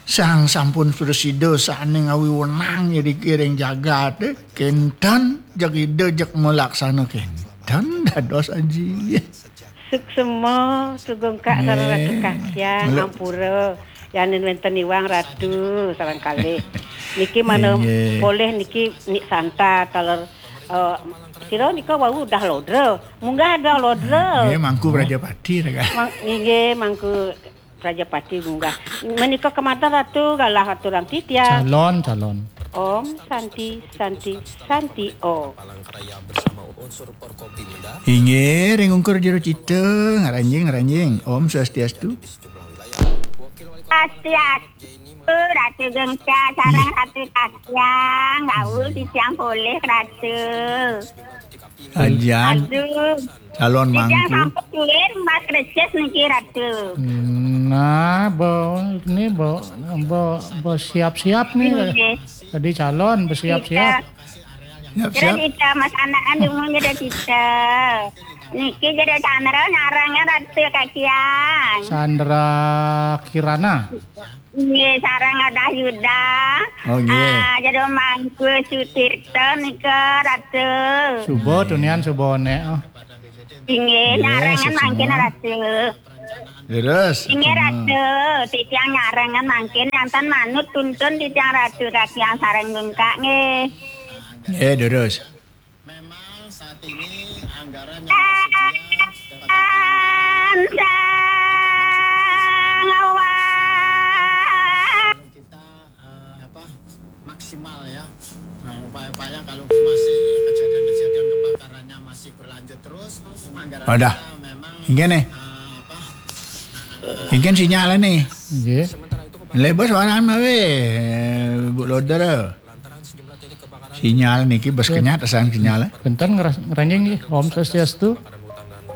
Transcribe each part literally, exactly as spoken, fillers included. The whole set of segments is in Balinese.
Sang sampun prasida sané ngawi wenang ring jagat, kénten jeg Ida jeg malaksana kénten dados Aji. Suksma, Sugengkak sareng Ratu Kasiang, ampura. Yanin wénten iwang Ratu sareng kalih. Niki mana polih niki Nik Santa taler, eh, sira nika wau udah lodra. Munggah dah lodra. Nggih, Mangku Prajapati, Raka. Mang-, nggih, Mangku Prajapati munggah. Menika kemanten Ratu galah aturang titiang. Calon, calon. Om Santi, Santi, Santi Om. Inggih, ring ungkur jero cita, ngranjing, ngranjing. Om Swastiastu. Swastiastu, Ratu Gengsa, sareng Ratu Kasiang, gaul titiang polih, Ratu. Ajan. Aduh. Calon mangku. Sampun suwir Mas Resis niki, Ratu. Nah, bo, ini bo, bo, bo siap-siap nih. Nggih. Tadi calon bersiap-siap. Siap. Siap, siap. Kita Mas anakan dulu jadi kita. Niki jadi Sandra nyarangnya Ratu Kasiang. Sandra Kirana. Nggih, sareng Adah Yuda. Oh, nggih. Ah, jero mangku Sutirta nika, Ratu. Suba tunian suba nek. Oh. Inggih, nggih, nyarengan mangkin, Ratu. Leres. Inggih, Ratu. Titiang nyarengan mangkin, janten manut tuntun titiang Ratu Kasiang sareng Gengkak nggih. Nggih, leres. Memang saat ini anggaran yang tersedia sekitar kita, eh, apa, maksimal ya. Nah, upaya-upaya kalau masih kejadian-kejadian kebakarannya masih berlanjut terus, anggaran kita memang, eh, apa, ingkén sinyal nih. Nggih. Lé bos waran mawé, Bu Loder. Sinyal niki bes kenyat asal sinyal. Benten ngeras-, ngeranjing nggih. Om Swastiastu.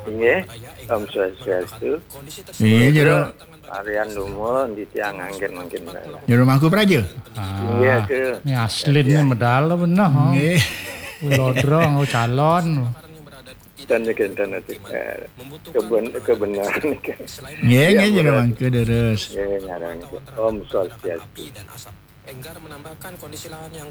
Nggih, Om Swastiastu. Iya, jero. Arian dumun di tiang anggen mangkin. Jero Mangku Praja. Ah, nggih, ke. Ini asli ini medal bener, oh. Nggih. Lodrong, oh, calon. Dan niki enten ati, eh, keben-, kebenaran niki. Nggih, nggih, jero Mangku, leres. Nggih, nyarengan. Om Swastiastu. Enggar menambahkan kondisi lahan yang